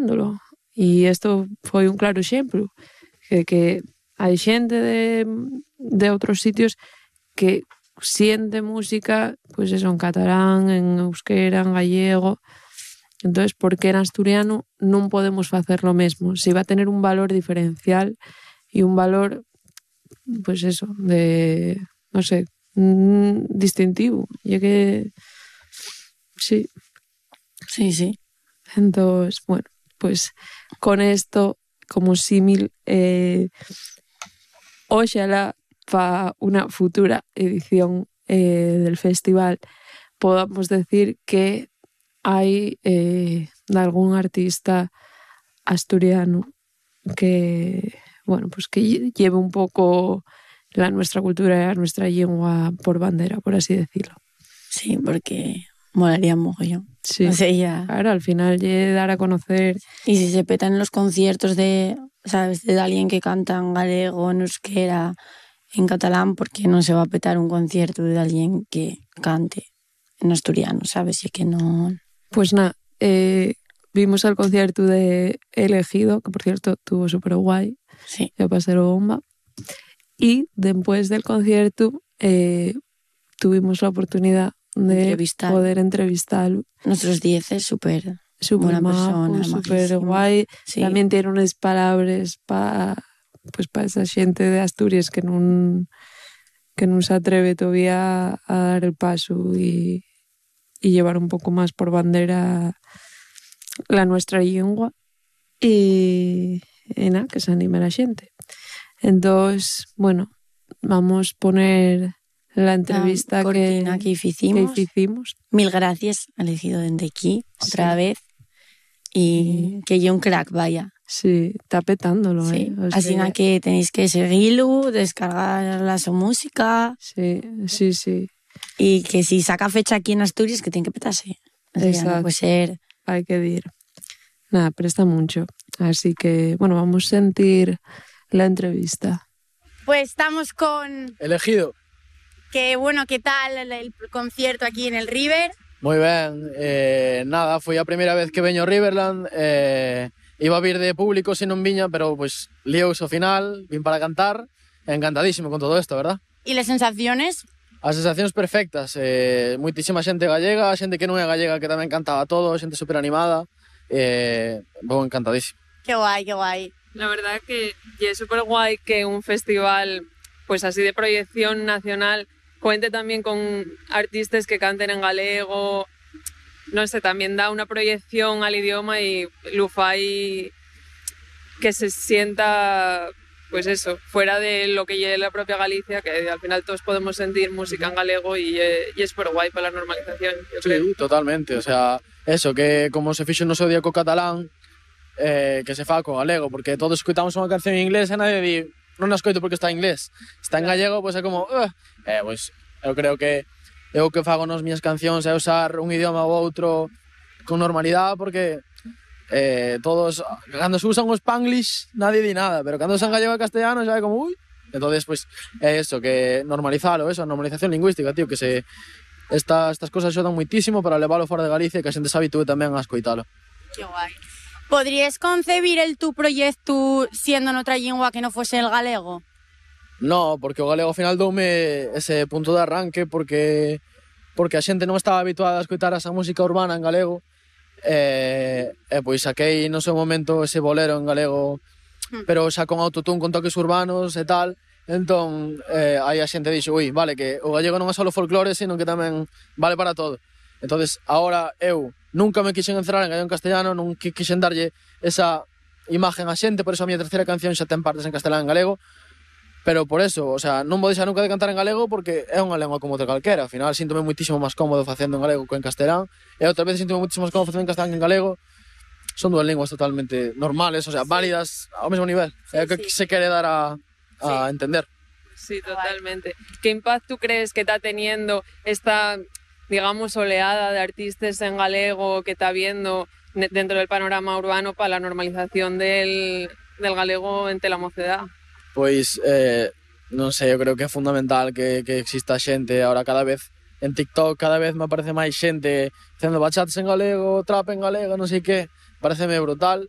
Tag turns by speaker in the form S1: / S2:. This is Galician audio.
S1: facéndolo. E isto foi un claro exemplo, que hai xente de outros sitios que siente música, pois eso, en catalán, en euskera, en gallego. Entonces, por que en asturiano non podemos facer lo mesmo? Si va a tener un valor diferencial e un valor, pois eso, de, non sei, distintivo. E que, sí.
S2: Sí.
S1: Entonces, bueno, pues con esto como símil, oxalá para una futura edición del festival podamos decir que hay de algún artista asturiano que, bueno, pues que lleve un poco nuestra cultura y nuestra lengua por bandera, por así decirlo.
S2: Sí, porque molaría mogollón.
S1: Sí,
S2: o sea, ya...
S1: claro, al final dar a conocer.
S2: Y si se petan los conciertos de, ¿sabes?, de alguien que canta en galego, en euskera, en catalán, ¿por qué no se va a petar un concierto de alguien que cante en asturiano, ¿sabes? Y que no...
S1: Pues nada, vimos el concierto de Elegido, que por cierto tuvo súper guay.
S2: Sí.
S1: Ya pasé bomba. Y después del concierto tuvimos la oportunidad de poder entrevistarlo.
S2: Nuestros 10 es súper
S1: buena persona, súper guay.
S2: Sí.
S1: También tiene unas palabras para esa gente de Asturias que no se atreve todavía a dar el paso y llevar un poco más por bandera la nuestra lengua y nada, que se anime la gente. Entonces, bueno, vamos a poner la entrevista que hicimos.
S2: Mil gracias, Elegido desde aquí, otra vez. Y que yo un crack, vaya.
S1: Sí, está petándolo,
S2: sí. Así que tenéis que seguirlo, descargar su música.
S1: Sí.
S2: Y que si saca fecha aquí en Asturias, que tiene que petarse. O sea,
S1: exacto.
S2: No puede ser...
S1: Hay que ir. Nada, presta mucho. Así que, bueno, vamos a sentir la entrevista.
S3: Pues estamos con...
S4: Elegido.
S3: Que bueno, ¿qué tal el concierto aquí en el River?
S4: Moi ben, nada, foi a primeira vez que veño a Riverland, iba a vir de público se non viña, pero pues liouse ao final, vin para cantar, encantadísimo con todo isto, verdad?
S3: E as sensaciones?
S4: As sensacións perfectas, moitísima xente gallega, xente que non é gallega que tamén cantaba todo, xente super animada, vou encantadísimo.
S3: Qué guay, qué guay.
S1: La verdad que es súper guay que un festival pues así de proyección nacional cuente también con artistas que canten en galego, no sé, también da una proyección al idioma y lo fai que se sienta, pues eso, fuera de lo que lleve la propia Galicia, que al final todos podemos sentir música en galego y es súper guay para la normalización, yo creo.
S4: Sí, totalmente, o sea, eso, que como se fixo no seu día co catalán, que se fa co galego, porque todos escoitamos unha canción en inglés e nadie di, non a escoito porque está en inglés, está en gallego, pois é como, pois eu creo que eu que fago nas miñas cancións é usar un idioma ou outro con normalidade, porque todos, cando se usan o Spanglish nadie di nada, pero cando usan gallego e castellano xa é como, entonces pois é eso, que normalizalo, eso, a normalización lingüística, tío, que estas cosas axudan moitísimo para leválo fora de Galicia e que a xente se habitúe tamén a escoitalo.
S3: Qué guai. ¿Podrías concebir tu proyecto siendo en otra lengua que no fuese el galego?
S4: No, porque o galego ao final doume ese punto de arranque porque a xente non estaba habituada a escoitar esa música urbana en galego e pois saquei no seu momento ese bolero en galego pero xa con autotune, con toques urbanos e tal, entón aí a xente dixo, vale, que o gallego non é só folclore, sino que tamén vale para todo. Entonces, ahora eu nunca me quixen encerrar en gallego en castellano, non quixen darlle esa imagen a xente, por eso a miña terceira canción xa ten partes en castelán e en galego, pero por eso, o sea, non vou deixar nunca de cantar en galego porque é unha lengua como outra calquera, ao final síntome moitísimo máis cómodo facendo en galego que en castelán, e outra vez síntome moitísimo máis cómodo facendo en castelán que en galego. Son dúas linguas totalmente normales, o sea, válidas ao mesmo nivel, é o que se quere dar a entender.
S1: Sí, totalmente. ¿Qué impacto crees que está teniendo esta, digamos, oleada de artistas en galego que está habiendo dentro del panorama urbano para la normalización del galego entre la mocedad?
S4: Pois, non sei, eu creo que é fundamental que exista xente ahora cada vez en TikTok, cada vez me aparece máis xente facendo bachatas en galego, trap en galego, non sei que, pareceme brutal.